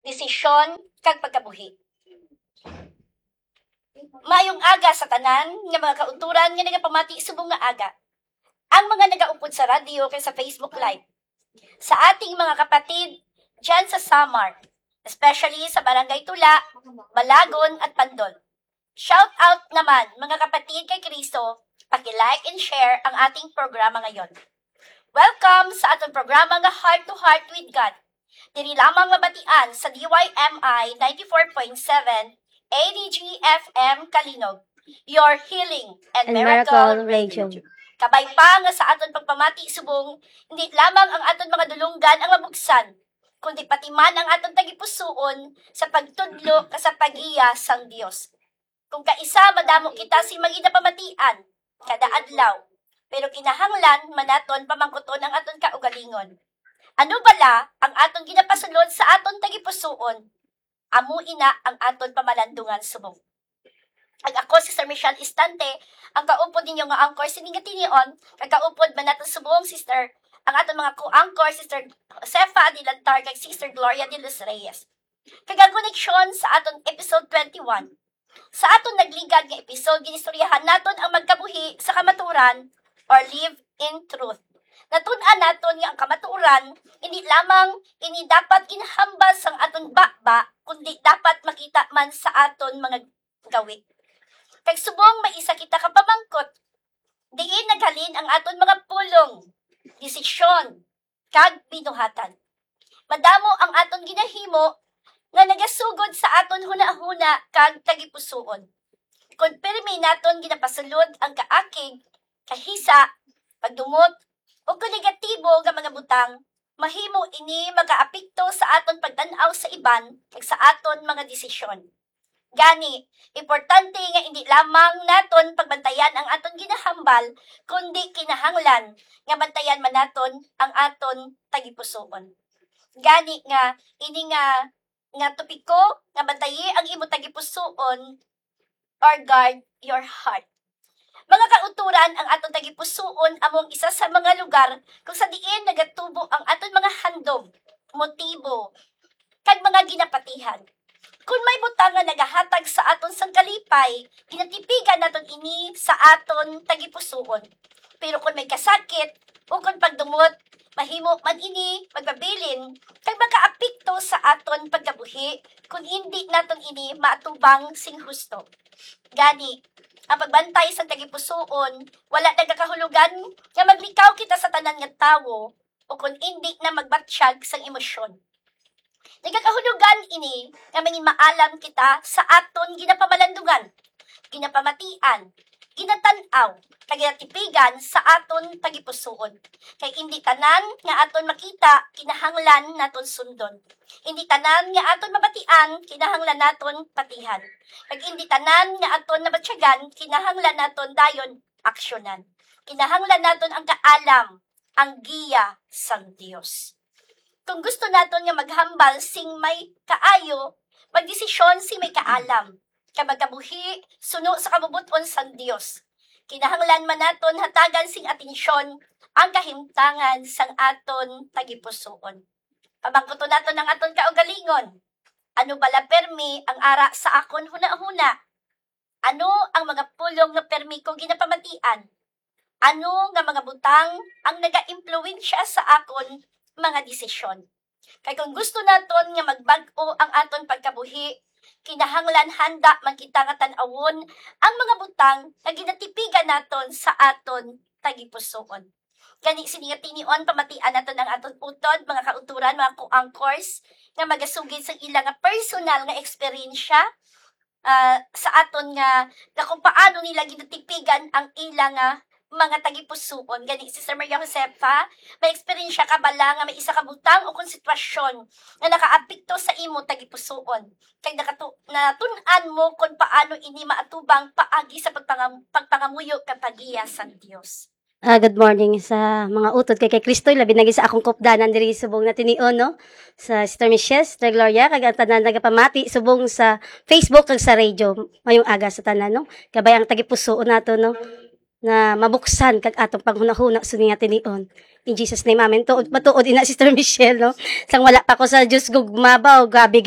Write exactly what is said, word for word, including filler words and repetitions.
desisyon, kag pagkabuhi. Maayong aga sa tanan nga mga kautoran nga nagapamati subong nga aga. Ang mga nagaupod sa radyo kag sa Facebook Live. Sa ating mga kapatid dyan sa Samar, especially sa Barangay Tula, Balagon, at Pandol. Shout out naman, mga kapatid kay Kristo, paki-like and share ang ating programa ngayon. Welcome sa aton programa nga Heart to Heart with God. Diri lamang mabatian sa D Y M I ninety-four point seven A D G F M Kalinog, your healing and, And miracle, miracle radio. Radio. Kabay pa nga sa aton pagpamati subong, hindi lamang ang aton mga dulonggan ang mabuksan, kundi pati man ang aton tagipusoon sa pagtudlo ka sa pagiya sang Dios. Kung kaisa, madamo kita sing mga ginapamatian kada adlaw, pero kinahanglan man naton pamangkuton ang aton kaugalingon. Ano bala ang aton ginapasulod sa aton tagipusoon? Amo ina ang aton pamalandungan subong. Kag ako, Sister Michelle Istante, ang kaupod ninyo nga anchor sining nga tinion, kag kaupod man naton subong, Sister, ang aton mga co-anchor, Sister Josefa Adilantar, kag Sister Gloria de los Reyes. Kag ang koneksyon sa aton episode twenty-one. Sa aton nagligad nga episode, ginistoryahan naton ang magkabuhi sa kamatuoran or live in truth. Natun-an naton nga ang kamatuoran, hindi lamang ini dapat ginhambal sang aton baba, kundi dapat makita man sa aton mga gawi. Kag subong may isa kita ka pamangkot, diin naghalin ang aton mga pulong, desisyon, kag binuhatan. Madamo ang aton ginahimo nga nagasugod sa aton hunahuna kag tagipusoon. Kon pirmi naton ginapasulod ang kaakig, kahisa, pagdumot, o kon negatibo nga mga butang, mahimo ini makaapekto sa aton pagtan-aw sa iban kag sa aton mga desisyon. Gani, importante nga indi lamang naton pagbantayan ang aton ginahambal, kundi kinahanglan nga bantayan man naton ang aton tagipusoon. Gani nga, ini nga, nga topiko nga bantayi ang imo tagipusoon or guard your heart. Mga kautoran, ang aton tagipusoon amo ang isa sa mga lugar kung sa diin nagatubo ang aton mga handom, motibo, kag mga ginapatihan. Kon may butang nga nagahatag sa aton sang kalipay, ginatipigan naton ini sa aton tagipusoon. Pero kon may kasakit, o kon pagdumot, mahimo man ini magpabilin kag makaapekto sa aton pagkabuhi kon indi naton ini maatubang sing husto. Gani, ang pagbantay sang tagipusoon wala nagakahulugan nga maglikaw kita sa tanan nga tawo o kon indi na magbatyag sang emosyon. Nagakahulugan ini nga mangin maalam kita sa aton ginapamalandungan, ginapamatian, ginatan-aw, kag ginatipigan sa aton tagipusoon. Kay indi tanan nga aton makita kinahanglan naton sundon. Indi tanan nga aton mabatian kinahanglan naton patihan. Kag indi tanan nga aton nabatyagan kinahanglan naton dayon aksyonan. Kinahanglan naton ang kaalam, ang giya sang Dios. Kung gusto naton nga maghambal sing may kaayo, magdesisyon sing may kaalam, kag magkabuhi suno sa kabubot-on sang Dios, kinahanglan man naton hatagan sing atensyon ang kahimtangan sang aton tagipusoon. Pamangkuton naton ang aton kaugalingon, "Ano bala permi ang ara sa akon hunahuna? Ano ang mga pulong nga permi ko ginapamatian? Ano nga mga butang ang nagaimpluwensya sa akon mga desisyon?" Kay kung gusto naton nga magbag-o ang aton pagkabuhi, kinahanglan handa man kita nga tan-awon ang mga butang nga ginatipigan naton sa aton tagipusoon. Gani, sini nga tinion, pamatian naton ang aton utod, mga kautoran, mga co-anchors, nga magasugid sa ila nga personal nga eksperyensya, ah, sa aton nga, nga kung paano nila ginatipigan ang ila nga mga tagipusoon. Gani, Sister Maria Josefa, may eksperyensya ka bala nga may isa ka butang o kon sitwasyon nga nakaapekto sa imo tagipusoon? Kag nakatu-, natun-an mo kon paano ini maatubang paagi sa pagpangam-, pagpangamuyo kag pagiya sang Dios? Ah, good morning sa mga utod kay, kay Kristoy, labi na gid sa akong kupdanan diri subong na tinion, no? Sa Sister Michelle, Sister Gloria, kag ang tanan nagapamati subong sa Facebook kag sa radio. Mayong aga sa tanan, no? Kabay ang tagipusoon nato, no? Na mabuksan kag atong panghunahuna sini nga tinion. In Jesus' name, amen. Tuod, matuod ina, Sister Michelle, no? Sang wala pa ko sa Dios gugma ba, o grabe gid